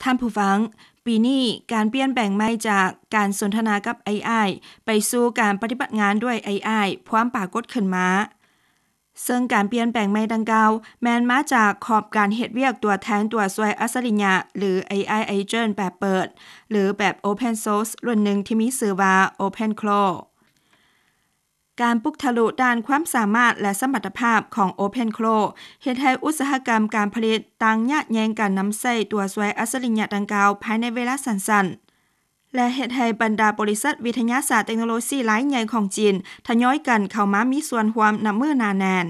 ທ່ານຜູ້ຟັງ, ປີນີ້ການປ່ຽນແປງໃໝ່ຈາກການສົນທະນາກັບ ເອໄອ ໄປສູ່ການປະຕິບັດງານດ້ວຍ ເອໄອ ພວມປາກົດຂຶ້ນມາ. ເຊິ່ງການປ່ຽນແປງໃໝ່ດັ່ງກ່າວ ແມ່ນມາຈາກຂອບການເຮັດວຽກຕົວແທນຕົວຊ່ວຍອັດສະລິຍະ ຫຼື ເອໄອ Agent ແບບເປີດ ຫຼື ແບບ Open Source ລຸ້ນໜຶ່ງທີ່ມີຊື່ວ່າ OpenClaw. ການປຸກທະລຸດ້ານຄວາມສາມາດ ແລະ ສະມັດຕະພາບຂອງ OpenClaw ເຮັດໃຫ້ອຸດສາຫະກຳການຜະລິດຕ່າງຍາດແຍ່ງກັນນຳໃຊ້ຕົວຊ່ວຍອັດສະລິຍະດັ່ງກ່າວພາຍໃນເວລາສັ້ນໆ ແລະ ເຮັດໃຫ້ບັນດາບໍລິສັດວິທະຍາສາດເຕັກໂນໂລຊີລາຍໃຫຍ່ຂອງຈີນທະຍອຍກັນເຂົ້າມາມີສ່ວນຮ່ວມນັບມື້ໜາແໜ້ນ.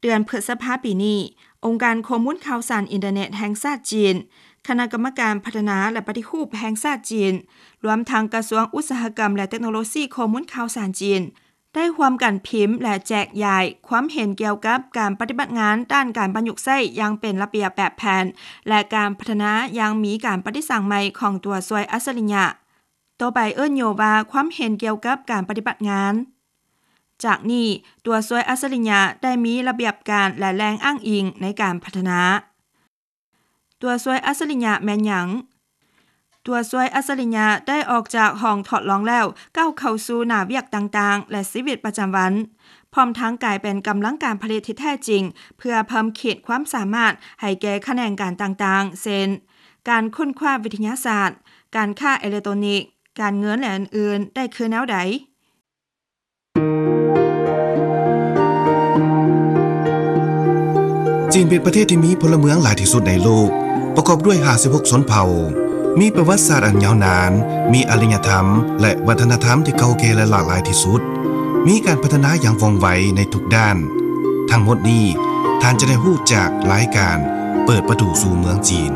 ເດືອນພຶດສະພາປີນີ້, ອົງການຂໍ້ມູນຂ່າວສານອິນເຕີເນັດແຫ່ງຊາດຈີນ, ຄະນະກຳມະການພັດທະນາ ແລະ ປະຕິຮູບແຫ່ງຊາດຈີນ, ລວມທັງກະຊວງອຸດສາຫະກຳ ແລະ ເຕັກໂນໂລຊີຂໍ້ມູນຂ່າວສານຈີນ ໄດ້ຮ່ວມກັນພິມ ແລະ ແຈກຢາຍຄວາມເຫັນກ່ຽວກັບການປະຕິບັດງານດ້ານການປະຍຸກໃຊ້ຢ່າງເປັນລະບຽບແບບແຜນ ແລະ ການພັດທະນາຢ່າງມີການປະຕິສັງໃໝ່ຂອງຕົວຊ່ວຍອັດສະລິຍະ, ຕໍ່ໄປເອີ້ນຫຍໍ້ວ່າຄວາມເຫັນກ່ຽວກັບການປະຕິບັດງານ. ຈາກນີ້, ຕົວຊ່ວຍອັດສະລິຍະໄດ້ມີລະບຽບການ ແລະ ແຫຼ່ງອ້າງອີງໃນການພັດທະນາ. ຕົວຊ່ວຍອັດສະລິຍະແມ່ນຫຍັງ? ຕົວຊ່ວຍອັດສະລິຍະໄດ້ອອກຈາກຫ້ອງທົດລອງແລ້ວ ກ້າວເຂົ້າສູ່ໜ້າວຽກຕ່າງໆ ແລະ ຊີວິດປະຈຳວັນ, ພ້ອມທັງກາຍເປັນກຳລັງການຜະລິດທີ່ແທ້ຈິງ ເພື່ອເພີ່ມຂີດຄວາມສາມາດໃຫ້ແກ່ຂະແໜງການຕ່າງໆ ເຊັ່ນ ການຄົ້ນຄວ້າວິທະຍາສາດ, ການຄ້າເອເລັກໂຕຣນິກ, ການເງິນ ແລະ ອື່ນໆ ໄດ້ຄືແນວໃດ? ຈີນເປັນປະເທດທີ່ມີພົນລະເມືອງຫຼາຍທີ່ສຸດໃນໂລກ, ປະກອບດ້ວຍຫ້າສິບຫົກຊົນເຜົ່າ, ມີປະຫວັດສາດອັນຍາວນານ, ມີອາລິຍະທຳ ແລະ ວັດທະນະທຳທີ່ເກົ່າແກ່ ແລະ ຫຼາກຫຼາຍທີ່ສຸດ, ມີການພັດທະນາຢ່າງວ່ອງໄວໃນທຸກດ້ານ. ທັງໝົດນີ້ ທ່ານຈະໄດ້ຮູ້ຈາກລາຍການເປີດປະຕູສູ່ເມືອງຈີນ.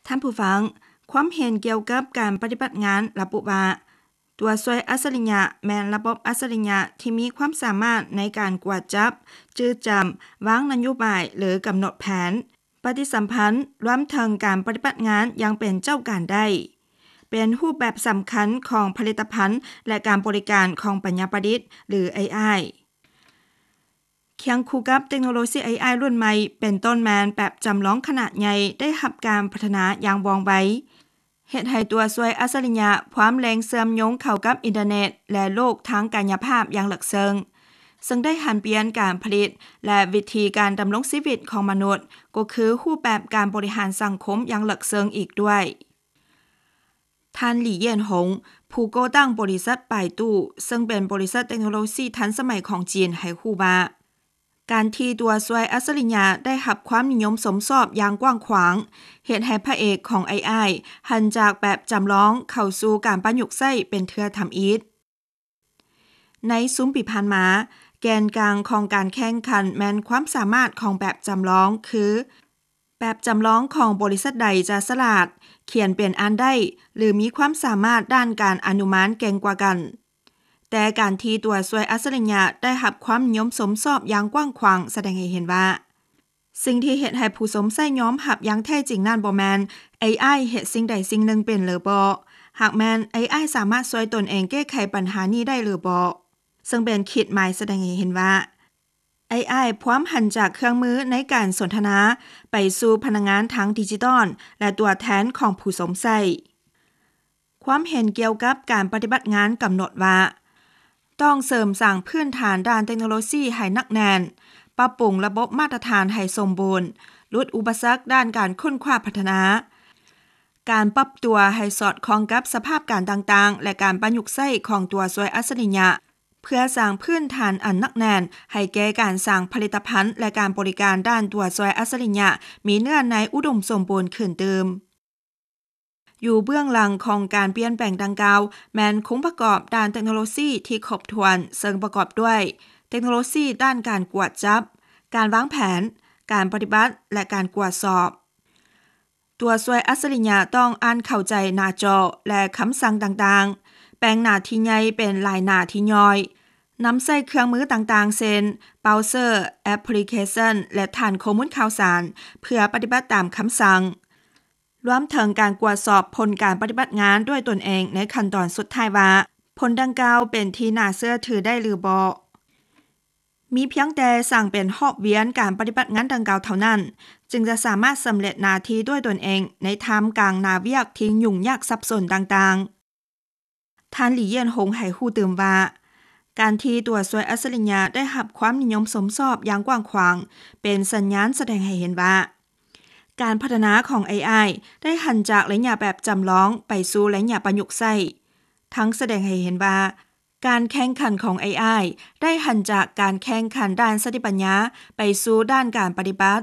ທ່ານຜູ້ຟັງ, ຄວາມເຫັນກ່ຽວກັບການປະຕິບັດງານລະບຸວ່າ, ຕົວຊ່ວຍອັດສະລິຍະແມ່ນລະບົບອັດສະລິຍະທີ່ມີຄວາມສາມາດໃນການກວດຈັບ, ຈື່ຈຳ, ວາງນະໂຍບາຍ ຫຼື ກຳນົດແຜນ, ປະຕິສຳພັນ, ລວມເຖິງການປະຕິບັດງານຢ່າງເປັນເຈົ້າການໄດ້, ເປັນຮູບແບບສຳຄັນຂອງຜະລິດຕະພັນ ແລະ ການບໍລິການຂອງປັນຍາປະດິດ ຫຼື ເອໄອ. ຄຽງຄູ່ກັບເຕັກໂນໂລຊີ ເອໄອ ລຸ້ນໃໝ່ ເປັນຕົ້ນແມ່ນແບບຈຳລອງຂະໜາດໃຫຍ່ ໄດ້ຮັບການພັດທະນາຢ່າງວ່ອງໄວ, ເຮັດໃຫ້ຕົວຊ່ວຍອັດສະລິຍະພວມແຫຼ່ງເຊື່ອມໂຍງເຂົ້າກັບອິນເຕີເນັດ ແລະ ໂລກທາງກາຍຍະພາບຢ່າງເລິກເຊິ່ງ, ເຊິ່ງໄດ້ຫັນປ່ຽນການຜະລິດ ແລະ ວິທີການດຳລົງຊີວິດຂອງມະນຸດ, ກໍຄືຮູບແບບການບໍລິຫານສັງຄົມຢ່າງເລິກເຊິ່ງອີກດ້ວຍ. ທ່ານ ຫຼີ ຢຽນຫົງ ຜູ້ກໍ່ຕັ້ງບໍລິສັດປາຍຕູ້ ເຊິ່ງເປັນບໍລິສັດເຕັກໂນໂລຊີທັນສະໄໝຂອງຈີນ ໃຫ້ຮູ້ວ່າ, ການທີ່ຕົວຊ່ວຍອັດສະລິຍະໄດ້ຮັບຄວາມນິຍົມຊົມຊອບຢ່າງກວ້າງຂວາງ ເຮັດໃຫ້ພະເອກຂອງ ເອໄອ ຫັນຈາກແບບຈຳລອງເຂົ້າສູ່ການປະຍຸກໃຊ້ເປັນເທື່ອທຳອິດ. ໃນຊຸມປີຜ່ານມາ, ແກນກາງຂອງການແຂ່ງຂັນແມ່ນຄວາມສາມາດຂອງແບບຈຳລອງ ຄື ແບບຈຳລອງຂອງບໍລິສັດໃດຈະສະຫຼາດ, ຂຽນເປັນອ່ານໄດ້ ຫຼື ມີຄວາມສາມາດດ້ານການອະນຸມານເກັ່ງກວ່າກັນ. ແຕ່ການທີ່ຕົວຊ່ວຍອັດສະລິຍະໄດ້ຮັບຄວາມນິຍົມຊົມຊອບຢ່າງກວ້າງຂວາງ ສະແດງໃຫ້ເຫັນວ່າ, ສິ່ງທີ່ເຮັດໃຫ້ຜູ້ຊົມໃຊ້ຍອມຮັບຢ່າງແທ້ຈິງນັ້ນ ບໍ່ແມ່ນ ເອໄອ ເຮັດສິ່ງໃດສິ່ງໜຶ່ງເປັນຫຼືບໍ່, ຫາກແມ່ນ ເອໄອ ສາມາດຊ່ວຍຕົນເອງແກ້ໄຂບັນຫານີ້ໄດ້ຫຼືບໍ່, ເຊິ່ງເປັນຂີດໝາຍສະແດງໃຫ້ເຫັນວ່າ ເອໄອ ພວມຫັນຈາກເຄື່ອງມືໃນການສົນທະນາ ໄປສູ່ພະນັກງານທາງດິຈິຕອນ ແລະ ຕົວແທນຂອງຜູ້ຊົມໃຊ້. ຄວາມເຫັນກ່ຽວກັບການປະຕິບັດງານກຳນົດວ່າ, ຕ້ອງເສີມສ້າງພື້ນຖານດ້ານເຕັກໂນໂລຊີໃຫ້ໜັກແໜ້ນ, ປັບປຸງລະບົບມາດຕະຖານໃຫ້ສົມບູນ, ຫຼຸດອຸປະສັກດ້ານການຄົ້ນຄວ້າພັດທະນາ, ການປັບຕົວໃຫ້ສອດຄ່ອງກັບສະພາບການຕ່າງໆ ແລະ ການປະຍຸກໃຊ້ຂອງຕົວຊ່ວຍອັດສະລິຍະ, ເພື່ອສ້າງພື້ນຖານອັນໜັກແໜ້ນໃຫ້ແກ່ການສ້າງຜະລິດຕະພັນ ແລະ ການບໍລິການດ້ານຕົວຊ່ວຍອັດສະລິຍະມີເນື້ອໃນອຸດົມສົມບູນຂຶ້ນຕື່ມ. ຢູ່ເບື້ອງຫຼັງຂອງການປ່ຽນແປງດັ່ງກ່າວ ແມ່ນໂຄງປະກອບດ້ານເຕັກໂນໂລຊີທີ່ຄົບຖ້ວນ, ເຊິ່ງປະກອບດ້ວຍເຕັກໂນໂລຊີດ້ານການກວດຈັບ, ການວາງແຜນ, ການປະຕິບັດ ແລະ ການກວດສອບ. ຕົວຊ່ວຍອັດສະລິຍະຕ້ອງອ່ານເຂົ້າໃຈໜ້າຈໍ ແລະ ຄຳສັ່ງຕ່າງໆ, ແບ່ງໜ້າທີ່ໃຫຍ່ເປັນຫຼາຍໜ້າທີ່ຍ່ອຍ, ນຳໃຊ້ເຄື່ອງມືຕ່າງໆ ເຊັ່ນ ເບຣາວເຊີ, ແອັບພລິເຄຊັນ ແລະ ຖານຂໍ້ມູນຂ່າວສານ ເພື່ອປະຕິບັດຕາມຄຳສັ່ງ, ລວມເຖິງການກວດສອບຜົນການປະຕິບັດງານດ້ວຍຕົນເອງໃນຂັ້ນຕອນສຸດທ້າຍວ່າ ໂພ ຄົນດັ່ງກ່າວເປັນທີ່ໜ້າເຊື່ອຖືໄດ້ຫຼືບໍ່. ມີພຽງແຕ່ສ້າງເປັນຮອບວຽນການປະຕິບັດງານດັ່ງກ່າວເທົ່ານັ້ນ ຈຶ່ງຈະສາມາດສຳເລັດໜ້າທີ່ດ້ວຍຕົນເອງໃນທ່າມກາງໜ້າວຽກທີ່ຫຍຸ້ງຍາກສັບສົນຕ່າງໆ. ທ່ານ ຫຼີ ຢຽນຫົງ ໃຫ້ຮູ້ຕື່ມວ່າ ການທີ່ຕົວຊ່ວຍອັດສະລິຍະໄດ້ຮັບຄວາມນິຍົມຊົມຊອບຢ່າງກວ້າງຂວາງ ເປັນສັນຍານສະແດງໃຫ້ເຫັນວ່າ ການພັດທະນາຂອງ ເອໄອ ໄດ້ຫັນຈາກໄລຍະແບບຈຳລອງໄປສູ່ໄລຍະປະຍຸກໃຊ້, ທັງສະແດງໃຫ້ເຫັນວ່າ ການແຂ່ງຂັນຂອງ ເອໄອ ໄດ້ຫັນຈາກການແຂ່ງຂັນດ້ານສະຕິປັນຍາໄປສູ່ດ້ານການປະຕິບັດ.